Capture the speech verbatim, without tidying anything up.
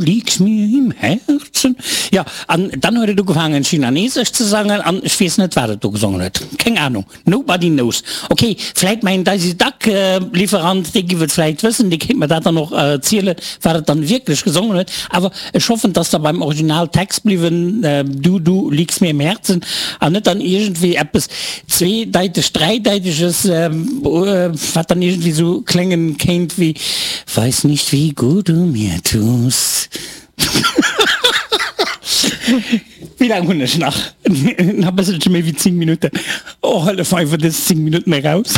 liegst mir im Herzen. Jo, an dann huet et ugefaangen Chinanesesch ze sangen an ech weess net wat et do gesongen huet. Keng Ahnung. Nobody knows. Ok, vläit mäin Daisy Duck Lieferant, dee giff et vläit wëssen, dee kéint mer dat dann och erzielen, wat et dann wierklech gesongen huet. Awer ech hoffen, dass der beim Original Text bliwwen, Du, du liegst mir im Herzen, an net dann iergendwéi eppes zweedeiteg, dräideiteges, wat dann iergendwéi sou kléngen kéint wéi Weiß nicht wie gut du mir tust. Wéi laang hunn ech nach? Nach e bësselche méi wéi zéng Minutten. Oh, hëllef mer iwwer dës zéng Minutten eraus.